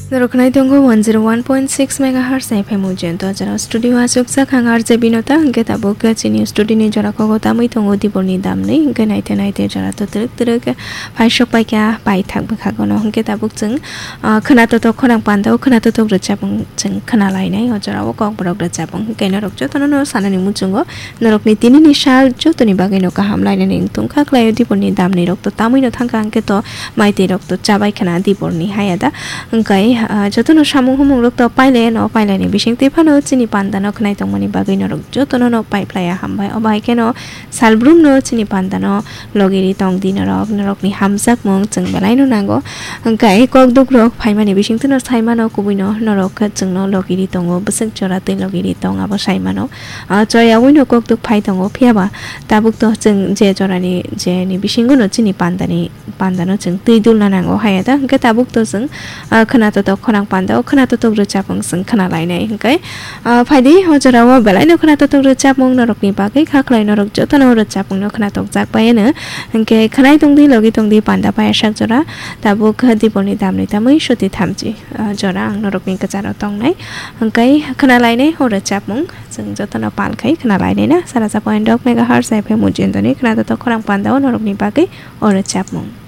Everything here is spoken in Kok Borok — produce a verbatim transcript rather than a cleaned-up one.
Norok khwnai tongo one zero one point six megahertz F M Ujjain to jora studio aswk sak ang R J Binota, hwnkhe tabuk chini studio ni jora kogo tamwi tongo diborni damni, hwnkhe naite naite jora to twrwk twrwk phaisok paikha paithak bwkhagono, hwnkhe tabuk chwng, ah, khwna totok khorang pandao khwna totok rwchapung chwng khwna lainai o jorao kokborok rwchapung, hwnkhe norok jotono no sanani muchungo. Norokni tinini sal jotoni bagwino kaham lainani wng tongkha, khlaio diborni damni rok to tamwino thangkha, hwnkhe to maitwi rok to chabai khna diborni haya da. Hwnkhe, ah, jotono samung humung rok to pailaiano, pailaini bisingtwi phano chini pandano khnai tongmani bagwi norok jotono no paiphlaiya hambai. Obo hai kheno salbrumno chini pandano logiri tong di norok, norokni hamjakmung chwng belaino nango. Hwnkhe kok duk rok phaimani bisingtwino saimano, kubuino norok chwngno logiri tongo, bwswk jora twi logiri tong abo saimano. Ah, choyawino kokduk phai tongo, phiyaba tabuk to chwng je jorani, je ni bisingo no chini pandani, pandano chwng twi dulna nango haya da, hwnkhe tabuk to chwng, ah, khwna totok khorang pandao khwna totok rwchapung chwng khwna lainai, hwnkhe, ah, phaidi o jorao belaino khwna totok rwchapmung norokni bagwi kha khlai, norok jotono rwchapmungno khwna tokjak bai ano, hwnkhe khwnai tongdi logi tongdi panda paiyasak jora, tabuk diborni damni tamwi soti thamchi, ah, jora ang norokni kwcharo tongnai, hwnkhe khwna lainai o rwchapmung. Chwng jotono pal khai khna lainai na, sara sa point dok megahertz F M Ujjain to ni khna totok khorang pandao norokni bagwi o rwchapmung.